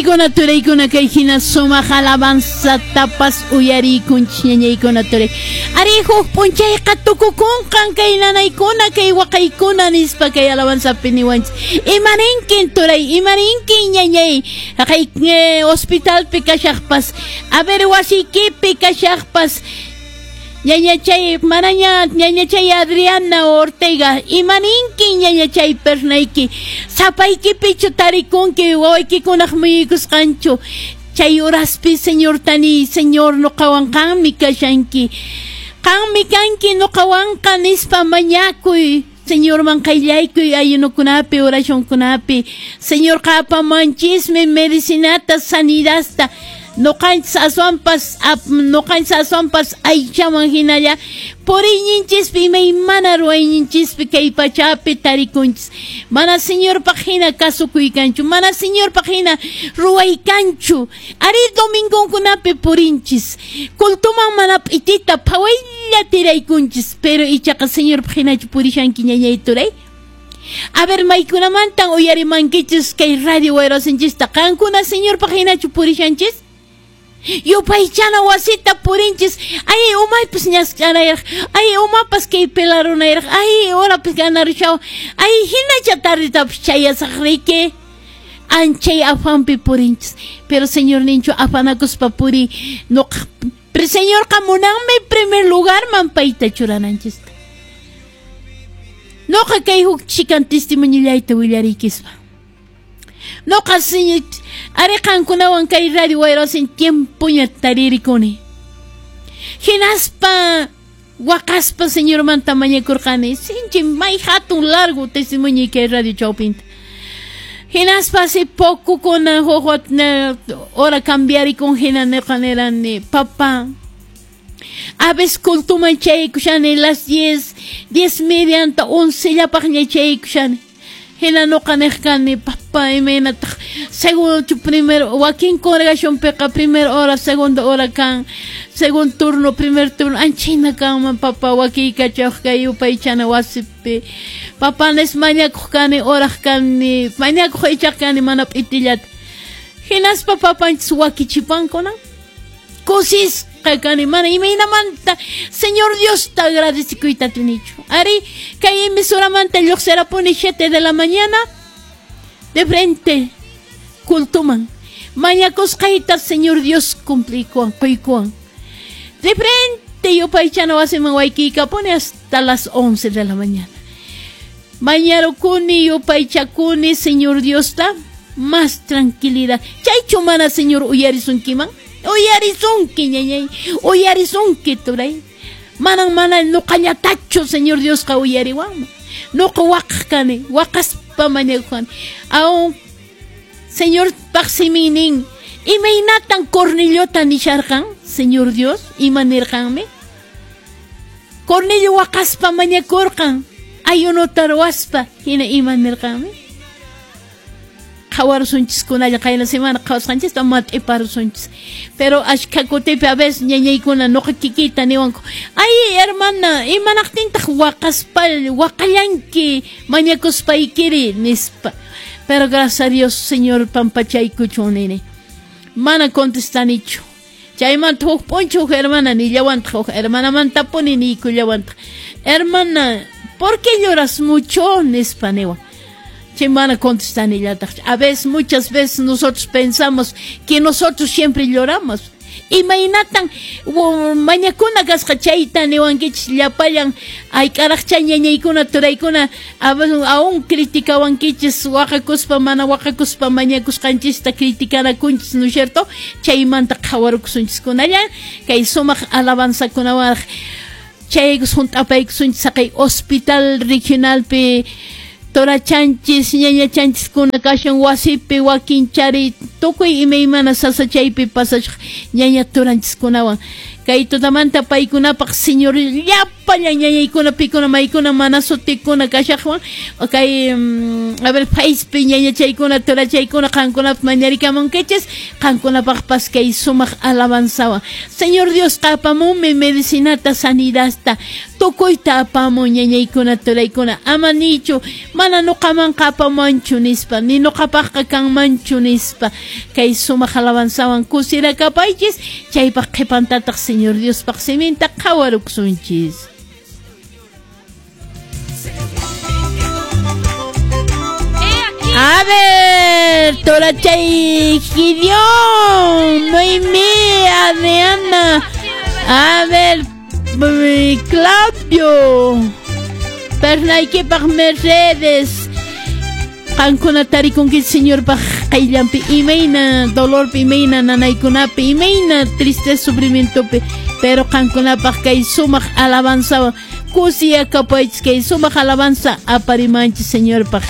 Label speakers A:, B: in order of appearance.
A: Ñañaykuna turaykuna kay hina sumaq alabanzatapas uyariykunchis ñañaykuna turay. Ari huk p'unchayqa tukukunqan kay nanaykuna kay waqaykuna nispa kay alabanzapi niwanchis. Imaninkin turay, imaninkin ñañay, haqay hospitalpi kashaqpas, a ver wasiykipi kashaqpas, ñañachay manaña ñañachay Adriana Ortega, imaninkin ñañachay pernayki, sapaykipichu tarikunki wawaykikunaq muyuykusqanchu, chay horaspi Señor tani, Señor nuqawan qanmi kashanki, qanmi kanki nuqawanqa nispa mañakuy, Señorman qayllaykuy ayunukunapi oracionkunapi, Señorqa apamuwanchismi medicinata, sanidadta, nuqanchis aswanpas nuqanchis aswanpas aychaman hinalla puriyninchispi imaymana ruwayninchispi kay pachapi tarikunchis, mana Señorpaq hina kasukuykanchu, mana Señorpaq hina ruwaykanchu, ari domingonkunapi purinchis, cultuman mana p'itita phawaylla tiraykunchis, pero ichaqa Señorpaq hinachu purishanki ñañay turay. A ver, maykunamantan uyarimankichis kay radio wayrasinchista, qankuna Señorpaq hinachu purishanchis? Yupaychana wasita purinchis, ay umaypas ñask'anayraq, ay umapas kay pelarunayraq, ay horapas ganarushaw, ay hinacha tardetapas chayasaq riki, anchay afanpi purinchis, pero Señor ninchu afanakuspa puri, nuqa, pero Señorqa munanmi primer lugarman payta churananchista. Nuqa kay huk chikan testimonillayta willariykispa. Nuqa Señor, ari qankunawan kay radio wayrasin tiempoña taririkuni. Hinaspa waqaspa Señormanta mañakurqani, sinchi may hatun largo testimonio kay radio chawpinta. Hinaspa hace poco kuna huk hora cambiarikun hina nuqa nirani, papá, a veces cultuman chaykushani las 10, 10:30 anta 11 llapaqña chaykushani. Hina nuqa niq kani, papá, imaynataq segundo primero wakin congregacionpiqa primera hora, segunda hora kan, segundo turno, primer turno, anchayna kanman papá wakiykachaq kay yupaychana wasipi. Papá nis mañakuq kani, oraq kani, mañakuq ichaq kani mana p'itillata. Hinaspa papanchis wakichipankunan. Kusisqa kani, mana imaynamanta Señor Diosta agradecikuyta atinichu. Ari, kay emisoramanta lluqsirapuni 7 de la mañana, de frente, cultuman. Mañakusqayta Señor Dios cumplikuwan, quykuwan. De frente yupaychana wasiman waykiykapuni hasta las 11 de la mañana. Mañarukuni, yupaychakuni, Señor Diosta, más tranquilidad. Chaychu mana Señor uyarisunkiman? Uyarisunki, ñañay, uyarisunki, turay. Manan mana nuqallatachu Señor Diosqa uyariwanman. Nuqa waqaq kani, waqaspa mañakuqani. Aún Señor paqsiminin, imaynatan Corneliota nisharqan, Señor Dios, ima nirqanmi? Cornelio waqaspa mañakurqan, ayunota ruwaspa, hina ima nirqanmi? Qhawarusunchiskunalla qayna semana qhawasqanchista mat'iparusunchis. Pero ashkha kutipi a veces ñañaykuna nuqa kikiyta niwanku, ay hermana, imanaqtintaq waqaspa waqallanki mañakuspaykiri nispa. Pero gracias a Dios, Señor pampachaykuchun nini. Mana contestanichu. Chaymanta huk p'unchaw huk hermana nillawantaq, huk hermanamantapuni niykullawantaq. Hermana, ¿por qué lloras mucho? Nispa niwan. Chay mana contestanillataq. A veces, muchas veces nosotros pensamos que nosotros siempre lloramos. Imaynatan mañakuna kasqa chayta niwankichis llapallan ayk'araqcha ñañaykuna turaykuna aún criticawankichis waqakuspa mana waqakuspa mañakusqanchista criticanakunchis, ¿no es cierto? Chaymanta qhawarukusunchiskunalla kay sumaq alabanzakunawanraq chaykus hunt'apaykusunchis haqay hospital regionalpi torachanchis ñañachanchiskuna kashan wasipi wakinchari tukuy imaymana sasachaypi pasachaq ñaña turanchiskunawan kay tutamanta paykunapaq Señor llapa Llapallan ñañaykuna pikuna maykuna mana sutikuna kashaqwan kay a ver Facepi ñañachaykuna turachaykuna qankunapaq mañarikamunkichis qankunapaqpas kay sumaq alabanzawan. Señor Diosqa apamunmi medicinata, sanidadta, tukuyta apamun ñañaykuna turaykuna, ama nichu mana nuqamanqa apamanchu nispa, ni nuqapaqqa kanmanchu nispa. Kay sumaq alabanzawan kusirakapaychis, chaypaq qhipantataq Señor Diospaq siminta qhawaruksunchis. A ver, Torachay, Gideón, Noemí, Adriana, a ver, Claudio, Pernaykipaq Mercedes, qankuna tarikunki Señorpaq qayllanpi imayna dolorpi, imayna nanaykunapi, imayna tristeza sufrimientopi, pero qankunapaq kay sumaq alabanzawan kusiyakapaychis, kay sumaq alabanza aparimanchis Señorpaq.